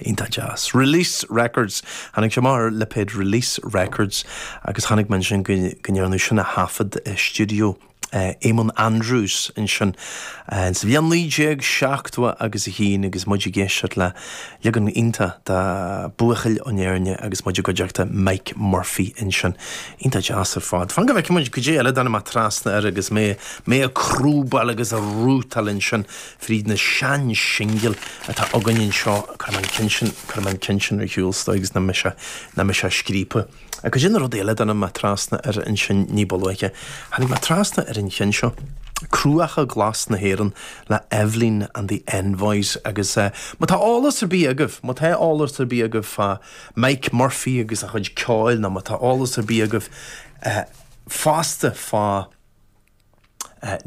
Iontach deas. Release Records. Tháinig sé amach ar lipéad Release Records agus chonaic mé ansin go ndearnadh sin a thaifead i stiúideo Eamonn Andrews ansin sa bhliain 1970 agus a haon agus muid ag éisteacht le leagan iontach de Buachaill ón Éirne agus muid i gcuideachta Mike Murphy ansin. Iontach deas ar fad. Fan go bhfeicfidh muid cad é eile a dtáinig mé trasna air agus mé mé ag crúbáil agus ag rútáil ansin fríd na sean-singil atá againn anseo. Cuirfidh mé an ceann sin, cuirfidh mé an ceann sin ar shiúl is dóigh agus nach mbeidh sé, nach mbeidh sé scríobtha. Cad é na rudaí eile a dtáinig mé trasna air ansin ní ba luaithe? Tháinig mé trasna ar an cheann seo, Cruacha Glas na hÉireann le Eibhlín and the Envoys agus má tá eolas ar bith agaibh, má tá eolas ar bith agaibh fá Mike Murphy agus a chuid ceoil nó má tá eolas ar bith agaibh fosta fá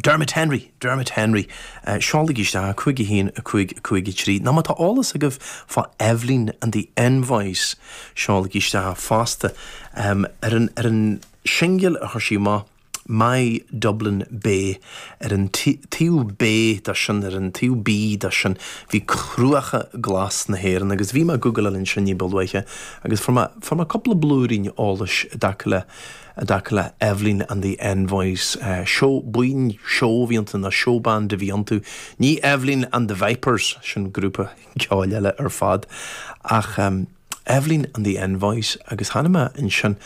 Dermot Henry, Dermot Henry, seolaigí isteach 5 1 5 5 3, nó má tá eolas agaibh fá Eibhlín and the Envoys, seolaigí isteach fosta. Ar an, ar an singil a chuir sí amach, My Dublin Bay, ar an taobh B de sin, ar an taobh B de sin, bhí Cruacha Glas na hÉireann agus bhí mé ag googleáil ansin ní ba luaithe agus fuair mé, fuair mé cúpla blúirín eolais i dtaca le, i dtaca le Eibhlín and the Envoys. Seó, buíon seó a bhí iontu, nó showband a bhí iontu. Ní Eibhlín and the Vipers, sin grúpa ceoil eile ar fad, ach Eibhlín and the Envoys agus chonaic mé ansin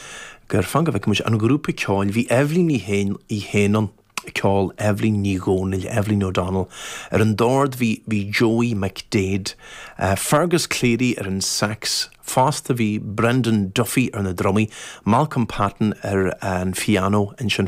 gur, fan go bhfeicfidh muid, an grúpa ceoil, bhí Eibhlín í féin, í féin ann. Ceol, Eibhlín Ní Dhomhnaill, Eibhlín O'Donnell. Ar an dord bhí bhí Joey McDaid, Fergus Cleary ar an sax, fosta bhí Brendan Duffy ar na drumaí, Malcolm Patton ar an phiano ansin.